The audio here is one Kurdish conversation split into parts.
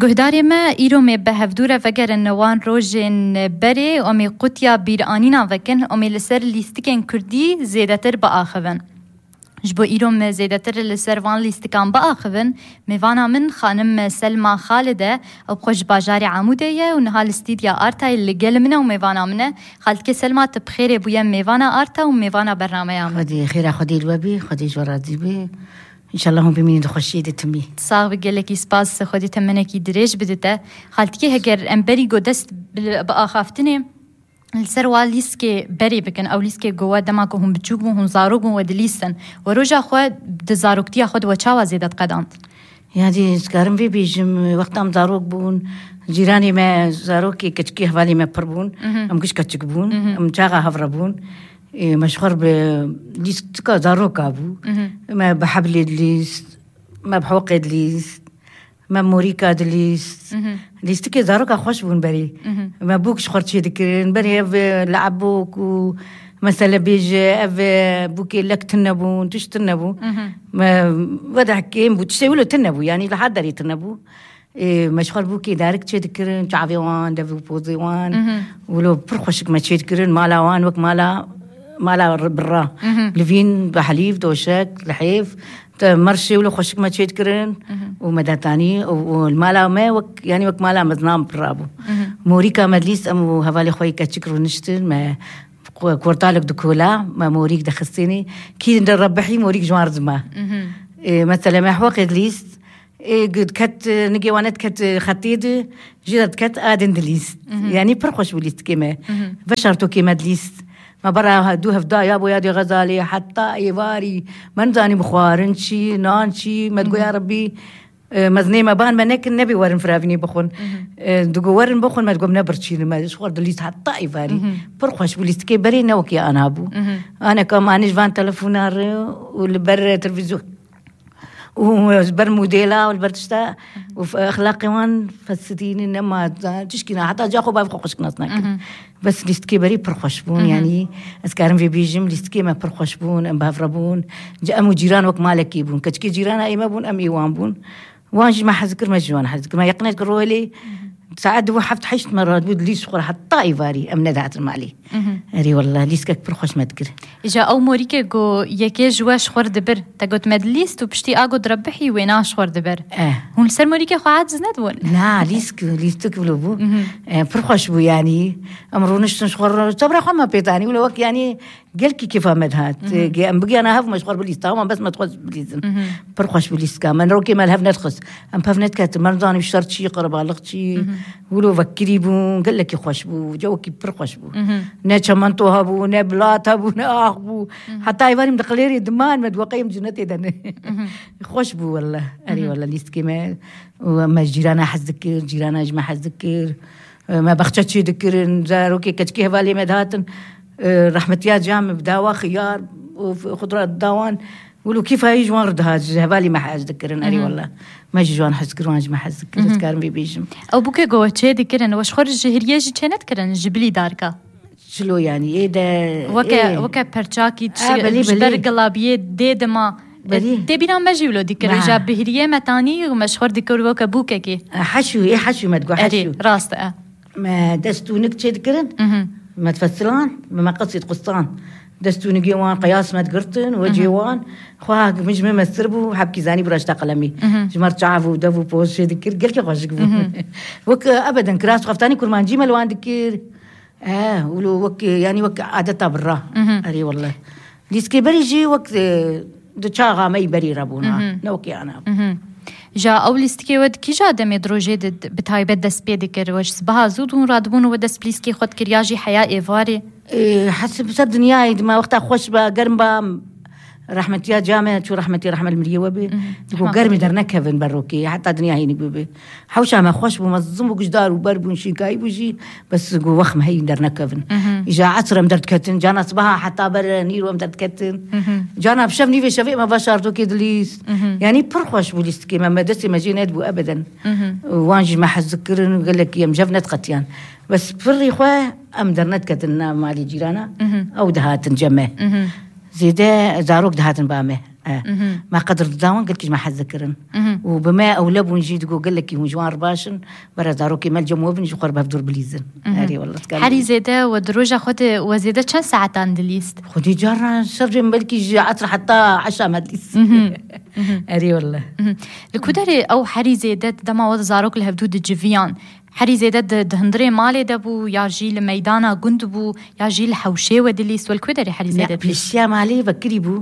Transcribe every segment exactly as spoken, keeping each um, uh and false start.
Guhdarê me, îro mê bi hevdû re vegerin wan rojên berê û em ê qutiya bîranînan vekin û mê li ser lîstikên kurdî zêdetir biaxivin. Ji bo îro me zêdetir li ser van lîstikan biaxivin, mêvana min xanim Selma Xalid e, ew xwe ji bajarê Amûdê ye û niha li stîdya Artayê li gel min e û mêvana min e. Xaltikê Selma, tu bi xêrê bûye mêvana Arta û mêvana bernameya min. Xwedî xêra Xwedî li we bî, Xwedî ji we razî bî. Înşallah hûn bimînin di xweşiyê de timî. Sax bi, gelekî spas, Xwedî temenekî dirêj bidite. Xaltikê, heger em berî ku dest bi, bi axaftinê li ser wa lîskê berê bikin, ew lîskê ku we dema ku hûn biçûk bûn, hûn zarok bûn, we dilîstin. We roja xwe di zaroktiya xwe de we çawa zêde diqedand? Yani, ez karim vê bêjim, wexta em zarok bûn, cîranê me zarokê keçikê hevalê me pir bûn, Mhm. em giş keçik bûn, Mhm. em çaxa hev re bûn. Ê, me ji xwe re bi lîstika zaroka bû. Mhm. Me bi heblê dilîst, me bi heqê dilîst, me bi morîka dilîst. Mhm. Lîstikê zaroka xweş bûn berê. Mhm. Me bûk ji xwe re çê dikirin. Berê ev, e, le'ebok û mesele bêje, ev, e, bûkê lek tune bûn, tişt tune bû. Mhm. Me wede kêm bû, tiştê wilo tune bû, yanî li her derê tune bû. Ê, me ji xwe re bûkê darik çê dikirin, çavê wan, dev û pozê wan. Mhm. Wilo pir xweşik me çê dikirin, mala wan wek mala, mala r-, birra. Mhm. Livîn, bi helîf, doşek, lihêf. Te merşê wilo xweşik me çê dikirin Mhm. û me detanî û, û li mala me wek, yanî wek mala meznan pirra bû. Mhm. Morîka me dilîst, em û hevalê xwe yê keçik rûniştin, me ku-, kortalek dikola, me morîk dixistinî. Kî de rebihî morîk ji wan re dima. Mhm. Ê, mesela me heqê dilîst, Ê, gu-, diket, e, nigê wan diket, e, xetê di, jî de diket a din dilîst. Mhm. Yanî pir xweş bû lîstikê me. Mhm. Veşartokê me dilîst. Me bera he-, du hevda ya bo ya dê Xezalê, heta êvarî, me nizanî bixwarin çi, nan çi, me digoya Mhm. Rebî, e, mezinê me ban me nekin, nebê werin firavînê bixwin. Mhm. E, digo werin bixwin, me digo em nebirçînin, me ji xwe re dilîst heta êvarî. Mhm. Pir xweş bû lîstikê berê ne wekî ana bû. Mhm. Aneka me anî ji van telefona re û li ber televîzyon. û ji ber modela û li ber tişta û f-, exlaqê wan fesidînin nema, tişkî ne, heta ca xwe bavê xwe xweşik nas nakin. Mhm. Bes lîstikê berî pir xweş bûn, Mhm. yanî ez karim vê bêjim, lîstikê me pir xweş bûn, em bi hev re bûn. Ci-, em û cîran wek malekî bûn. Keçikê cîrana ê me bûn, em ê wan bûn. Wan jî me hez dikir, me jî wan hez dikir. Me yeqinê dikir rohelê, Mhm. saet du heft heşt me radibû, dilîst ji xwe re heta êvarî em nedihatin malê. Mhm. Erê wallah, lîskek pir xweş me dikir. Îja ew morîkê ku yekê ji we ji xwe re dibir, te got me dilîst û piştî a got rebihî wêna ji xwe re dibir. Eh. Hûn li ser morîkê xwe aciz nedibûn? Na, lîsk, lîstik wilo bû. Mhm. Eh, pir xweş bû yanî. Em rûniştin ji xwe re, çavra xwe me pê tanî, wilo wek yanî gelkî kêfa me dihat. Mhm. Ge-, em bigiyana hev me ji xwe re bilîsta, wan bes me dixwest bilîzin. Mhm. Pir xweş bû lîstika me. Rokê me li hev nedixist. Em pev nediketin. Me nizanî şer çi, qerebalix çi. Mhm. Wilo vekirî bû, gelekî xweş bû, cewekî pir xweş bû. Mhm. Ne çemento hebû, ne bilat hebû, ne ax bû. Mhm. Heta êvarî min di qilêrê diman, me diweqeyê min cinetê de ne. Mhm. Xweş bû wele. Erê Mhm. wele lîstikê me. Û me ji cîrana hez dikir, cîrana ji me hez dikir. Me bexçe çê dikirin, zarokê keçikê hevalê me dihatin. Rehmetiya ca min bi dawa xiyar û xudra dawan. Wilo kîfa wî ji wan re dihat, ji hevalî me hez dikirin, erê Mhm. wele. Me jî ji wan hez kir, wan ji me hez dikir, ez Mhm. dikarim vê bêjim. Ew bûke ku we çê dikirin, we ji xwe re ji hiriyê jî çê nedikirin, ji bilî darka? Çilo yanî, ê de, Weke, ê. weke perçakî çi, A, belê, ji ber belê. gilabiyê dê dima. Belê. Tê bîra me jî wilo dikir, Nah. îja bi hiriyê me tanî û me ji xwe re dikir weke bûkekê. Heşû, ê heşû me digo, Erê, heşû. rast e. Me dest û nik çê dikirin, Mhm. me difesilan, me meqesî diqustan. Dest û nigê wan qeyas me digirtin, wecê Mhm. wan. Xwe min ji min mestir bû, hebkî zanî bû raşta qelemî. Mhm. Ji me re çav û dev û poz çê dikir, gelkî xweşik bû. Mhm. Wek, e, ebeden kiras xeftanî kurmancî me li wan dikir. E, wilo wek, e, yanî wek adeta birra. Mhm. Erê wele. Lîskê berî jî wek, e, di çaxa me yî berî re bûna. Mhm. Ne wekî ana. Mhm. Ja ew lîstikê we di kîja demê di rojê de bi taybet dest pê dikir? We ji sibeha zû dûn radibûn û we dest bi lîskê xwe dikir ya jî heya êvarê? Ê, hesib ser dinyayê dima wexta xweş ba, germ ba, rehmetiya ca me, çû rehmetî, rehmet li miriyê we bê. Mhm. Digo Rehmet germî Xwedê. dernekevin ber rokê, heta dinya hînik bibe. Hewşa me xweş bû, mezin bû, gujdar û ber bûn, şînkayî bû jî, bes go wext me heyî dernekevin. Mhm. Îja esr em derdiketin, cana sibeha heta ber nîro em derdiketin. Mhm. Cana bi şev nîvê şevê me veşartokê dilîst. Mhm. Yanî pir xweş bû lîstikê me, me destê me jê nedibû ebeden. Mhm. Wan jî me hez dikirin, gelekî em jev nediqetiyan. Bes pirrî xwe em dernediketin nav malê cîrana, Mhm. ew dihatin cem me. Mhm. Zêde zarok dihatin ba me. E, me qedir dida wan, gelkî ji me hez dikirin. Û bi me ewle bûn jî, digo gelekî hûn ji wan re baş in, bera zarokê me li cem we bin, ji xwe re bi hevdûr bilîzin. Erê, wallah, dikare. Herî zêde we di roja xwe de we zêde çend saetan dilîst? Xwedî carna şevcên belkî ji esr heta eşa me dilîst. Erê, wallah. Li ku derê ew herî zêde dema we zarok li hevdû diciviyan, herî zêde di, di hundirê malê de bû, ya jî li meydana gund bû, ya jî li hewşê we dilîst, we li ku derê herî Ne, zêde dilîst? Pêşiya malê vekirî bû.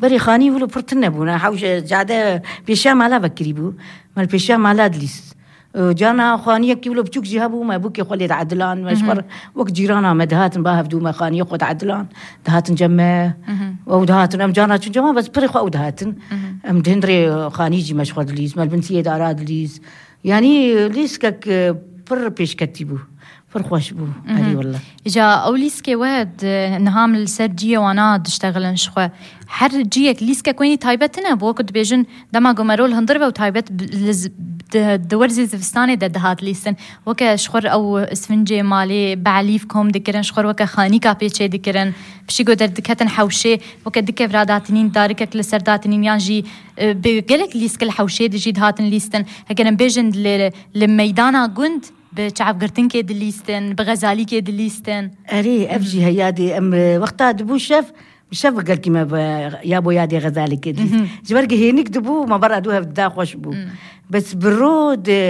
Berê xanî wilo pir tune bû, ne, hewş, cade pêşiya mala vekirî bû. Me li pêşiya mala dilîst. E, carna xaniyekî wilo biçûk jî hebû, me bûkê xwe lê diedilan, me ji xwe re wek cîrana me dihatin ba hevdû, me xaniyê xwe diedilan, dihatin cem me. Ew dihatin, em carna çûn cem me, bes pirê xwe ew dihatin. Em di hundirê xanî jî me ji xwe dilîst, me li bin siyê dara dilîst. Yanî lîskek, e, pir pêşketî bû. Pir xweş bû. Erê, wallah. Îca ew lîskê we di, niha min li ser ciyê wana diştexilin ji xwe. Her ciyek lîskek wênî taybet tine, bo ku dibêjin dema ku merol hundir ve û taybet bi, li z-, di, di werzê zivistanê de dihat lîstin. Weke ji xwe re ew isfincê malê, belîf kom dikirin, ji xwe re weke xanîka pê çê dikirin. Piştî ku derdiketin hewşê, weke di kevra datinîn, darikek li ser datinîn yan jî, e, bi gelek lîsk li hewşê de jî dihatin lîstin. Heger em bêjin li, li meydana gund, bi çavgirtinkê dilîstin, bi xezalîkê dilîstin. Erê, ev jî heyadê em, e, wexta dibû şev, bi şev gelkî me bi, ya bo yadê xezalîkê dilîst. Ji ber ku hênik dibû, me bera dû hev dida xweş bû. Bes bi ro di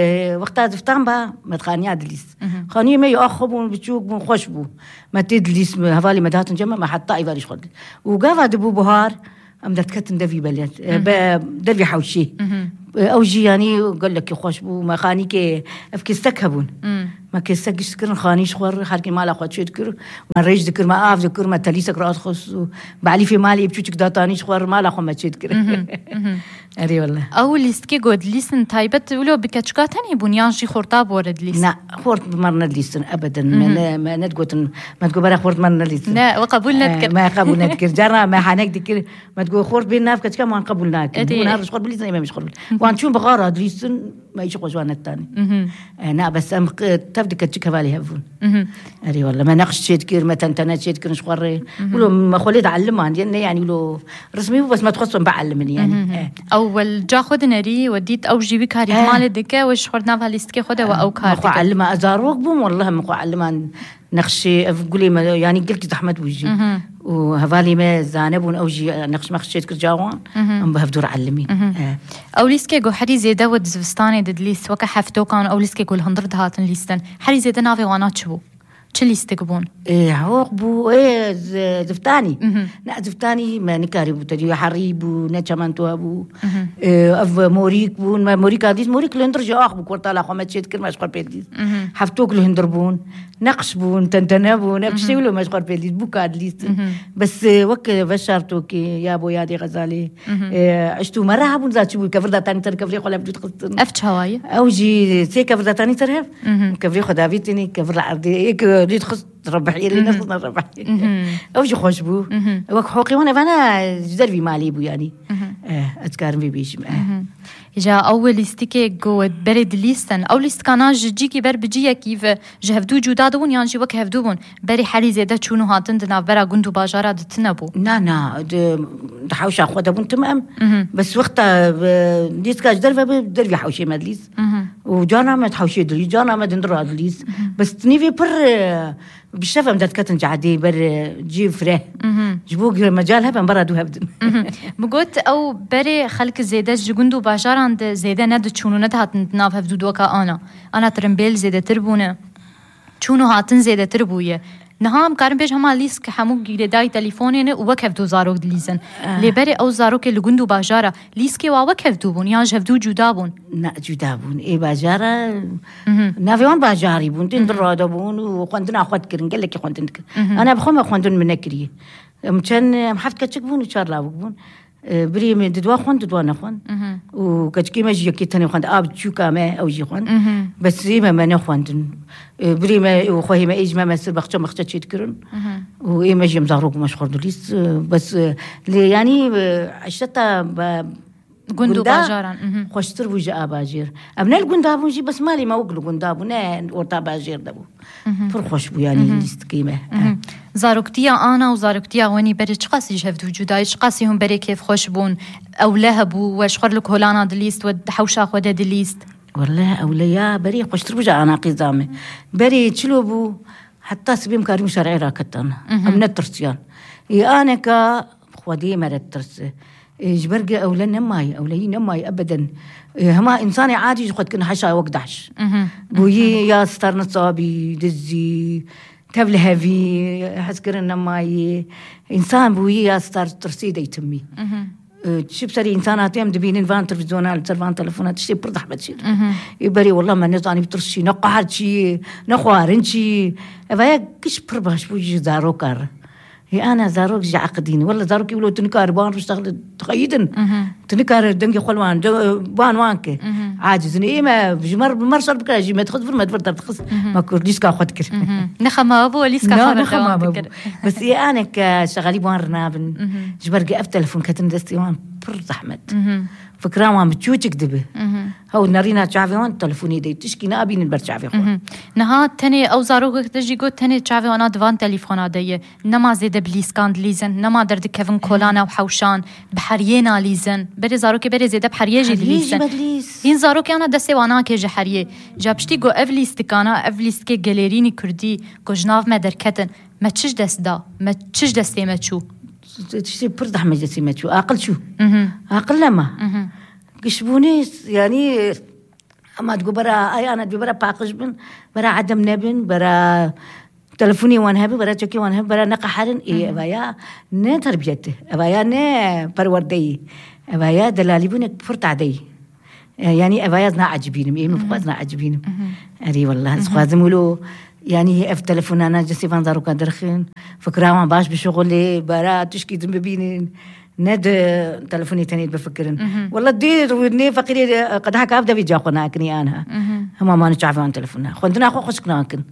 wexta ziftan ba, me di xaniya dilîst. Xaniyê me ya xwe bûn, biçûk bûn, xweş bû. Me tê dilîst, me, hevalê me dihatin cem me, me heta îvarî ji xwe dilîst. Û gava dibû buhar, em derdiketin devî belê, e, be, devî hewşî. E, ew jî yanî gelekî xweş bû. Me xanîkê, ev kêstek hebûn. Me kêstek giş dikirin, xanî ji xwe re, her kê mala xwe çê dikir. Me rêj dikir, me av dikir, me telîsek radixist û belîfê malê biçûçik datanî ji xwe re, mala xwe me çê dikir. Erê, wallah. Ew lîstikê ku dilîstin taybet wilo bi keçika tenê bûn yan jî xorta bi we re dilîst? Na, xort bi me re nedilîstin ebeden. Me ne, me nedigotin, me digot bera xort bi me re nedilîstin. Ne, we qebûl nedikir. E, me qebûl nedikir. Carna me hanek dikir. Me digot, xort bên nav keçika, wan qebûl nakin. Erê. Hûn her ji xwe bilîzin, ê me ji xwe bilîzin. Wan çûn bi xara dilîstin, me îşî xwe ji wan neditanî. E, na, bes em q-, tev di keçik hevalê hev bûn. Erê, wallah, me neqş çê dikir, me tentene çê dikirin ji xwe rê. Wilo me xwe lê dieliman, ne, yanî wilo rismî bû, bes me dixwest em bielimin, yanî. E. Ew wel ca xwe dinerî, we dît ew jî wî karî malê dike, we ji xwe di nava lîstikê xwe de we ew kar dike. Me xwe elima, ez zarok bûm, wallah, me xwe eliman. Nexşê ev gulê me, yanî gelkî zehmet bû jî. Û hevalê me zane bûn, ew jî nexş mexş çê dikir cawan. Em bi hevdû re elimîn. E. Ew lîskê ku herî zêde we di zivistanê de dilîst, weke heftokan, ew lîskê ku li hundir dihatin lîstin. Herî zêde navê wana çi bû? Çi lîstik bûn? Ê, hewoq bû, ê, z-, ziftanî. Ne, ziftanî me nikarî bû, tedî herî bû, ne çemento hebû. Ê, ev morîk bûn, me morîka dît, morîk li hundir jî ax bû, kortala xwe me çê dikir, me ji xwe pê dît. Heftok li hundir bûn. Neqş bûn, tentene bûn, ev tiştê wilo me ji xwe pê dît, bûka dilîstin. Bes, e, wek, e, veşartokê, ya bo yadê Xezalê, e, eşt û mere hebûn, za çi bû, kevir datanî ser kevirê xwe lev dût xistin. Ev çawa ye? Ew jî sê kevir datanî ser hev, kevirê xwe davîtînî, kevir li erdê, yek, e, dît xist rebihiyê, lê nexistin rebihiyê. Ew jî xweş bû. Wek hoqê wan evana ji dervî malê bû yanî. E, ez dikarim vê bêjim, e. Îca ew lîstikê ku berê dilîstin, ew lîstikana ji cîkî ber bi ciyekî ve ji hevdû cuda dibûn yan jî wek hevdû bûn? Berê herî zêde çûn û hatin di navbera gund û bajara de tune bû? Na, na, di, di hewşa xwe de bûn tim em. Bes wexta, e, lîstika ji derve bi dervî hewşê me dilîst. Û carna me di hewşê dilîst, carna me di hundir ra dilîst. Bes nîvê pir, e, Bi şev em derdiketin cadê ber, e, cî fireh. Ji bo ku mecal hebe em bera dû hev din. Min got, ew berê xelk zêde ji gund û bajaran de zêde nediçûn û nedihatin di nav hevdû doka ana. Ana tirimbêl zêdetir bûne. Çûn û hatin zêdetir bûye. Niha em karin bêjin hema lîsk hemû girêdayî telîfonê ne û wek hevdû zarok dilîzin. Lê berê ew zarokê li gund û bajara lîskê wa wek hevdû bûn yan ji hevdû cuda bûn? Na, cuda bûn. Ê bajara, navê wan bajarî bûn. Din di rada bûn û xwendina xwe dikirin. Gelekî xwendin dikirin. Ana bi xwe me xwendin min nekiriye. Em çend, em heft keçik bûn û çar lawik bûn. E, birê me di dua xwend, di dua nexwend. Û keçikê me jî yekê tenê xwend. A biçûka me ew jî xwend. Bes ê me, me nexwendin. E, birê me û xwehê me ê ji me, me sir baxçe maxçe çê dikirin. Û ê me jî em zarok me ji xwe dilîst. E, bes, e, lê yanî, e, eşreta be-, Gund û gunda bajaran, mhm. Xweştir bû ji a bajêr. Em ne li gunda bûn jî, bes malê me wek li gunda bû, ne orta bajêr de bû. Mhm. Pir xweş bû, yanî, mhm, lîstikê me. Mhm. Zaroktiya Ana û zaroktiya Wenî berê çiqasî ji hev dû cuda ye, çiqasî hûn berê kêfxweş bûn? Ewle hebû, we ji xwe li kolana dilîst, we di hewşa xwe de dilîst? Wele ewleya berê xweştir bû ji Ana qîza me. Berê çilo bû, heta sibê em karîbûn şerê raketan. Mhm. Em netirsiyan. Ê aneka Xwedê me re tirse. Ê, ji ber ge ewle nemayî, ewleyî nemayî ebeden. Ê, hema însanê adî ji xwe dikin heşa wek dehş. Mhm. Bûyî ya star nisabî, dizî, tev li hevî, hezkirin nemayî. Însan bûyî ya star tirsî deytimî. Mhm. Ê, çi bi serê însan hatî em dibînin van televîzyona, li ser van telefona tiştê pir zehmet çêdibin. Mhm. Ê, berê wela me nezanî bi tirs çi, ne qehar çi, ne xwarin çi. Eva ya giş pir baş bû ji zaroka re. Hê ana zarok ji eqidîn. Wela zarokî wilo tu nikare ban riştexle dixeyidin. Mhm. Tu nikare dengê xwe li wan, de, ban wan ke. Mhm. Aciz in. Ê me ji mer, mer şer bikira jî me dixist vir, me vir derdixist. Mhm. Me kur lîska xwe dikir. Mhm. Nexe ma bû, lîska Na, xwe nexe dewam ma bû. Dikir. Bes ê anek, e, şexelî wan rinabin. Mhm. Ji ber ge ev telefon ketin destê wan pir zehmet. Mhm. Fikra wan bi çûçik dibi. Mhm. Hew nerîna çavê wan telefonê de tişkî nabînin ber çavê xwe. Mhm. Niha tenê ew zarokek te jî got tenê çavê wana di van telefona de ye. Nema zêde bi lîskan dilîzin, nema derdikevin kolana û hewşan, bi heriyê nalîzin. Berê zarokê berê zêde bi heriyê jî Heriyê jî dilîzin. Me dilîz. Hîn zarokê ana destê wan nake ji heriyê. Ja piştî ku ev lîstikana, ev lîstikê gelêrînî kurdî ku ji nav me derketin, me çi ji dest da, me çi ji destê me çû? Tiştê pir zehmet ji destê me çû. Aqil çû. Mhm. Aqil nema. Mhm. Gişbûnê, yanî, Ema digo bera ayana digo bera paqij bin, bera edem nebin, bera telefonê wan hebe, bera çekê wan hebe, bera neqeherin. Ê, Hı hı. Eva ya ne terbiyet, eva ya ne perwerdeyî, eva ya delalîbûnek pir tadeyî. E, yanî eva ya ez naecibînim, ê min Hı hı. xwaz naecibînim. Hı hı. Erê wallah, ez Hı hı. xwazim wilo, yanî ev telefonana cesê van zarokan derxin, fikra wan baş bişuxulê, bera tişkî din bibînin. Ne di telefonê tenê bifikirin. Mhm. Wala dê rû-, nê feqîrê, e, qedehek av devê ca xwe nakinî anha. Mhm. Hema mane çavê wan telefona. Xwendina xwe xweşik nakin.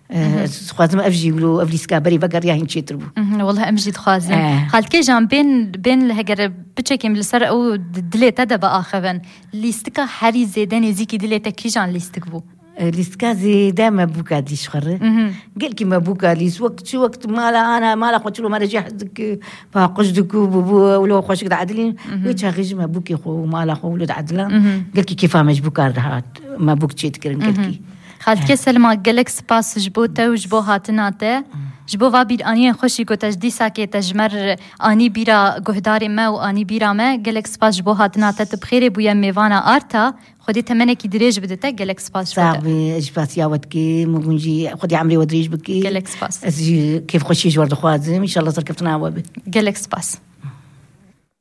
E, Mhm. ez dixwazim ev jî wilo, ev lîska berê vegeriya hîn çêtir bû. Mhm, wala em jî dixwazin. Eh. Xaltike jan bên, bên li heger biçekîm li ser ew di-, dilê te de biaxivin. Lîstika herî zêde nêzîkî dilê te kîjan lîstik bû? E, lîstika zêde me bûka dî ji xwe re. Mhm. Gelkî me bûka lîs. Wek çi wek mala ana, mala xwe çilo me re jê hez dikir, paqij dikir, bû, bû, wilo xweşik diedilîn. Mhm. Wê çaxê jî me bûkê xwe û mala xwe wilo diedilan. Mhm. Gelkî kêfa me ji bûka re dihat. Me bûk çê dikirin Mhm. gelkî. Xaltike Eh. Selma, gelek spas ji bo te û ji bo hatina te. Mhm. Ji bo va bîraniyên xweşî ku te ji dîsakê te ji me re anî bîra guhdarê me û anî bîra me. Gelek spas ji bo hatina te. Tu bi xêrê bûye mêvana Arta. Xwedê temenekî dirêj bide te, gelek spas ji bo te. Sax bî, ez jî spasiya we dikim û hûn jî Xwedê emrê we dirêj bike. Gelek spas. Ez jî kêfxweşî ji we dixwazim. Înşallah serkeftina we be. Gelek spas.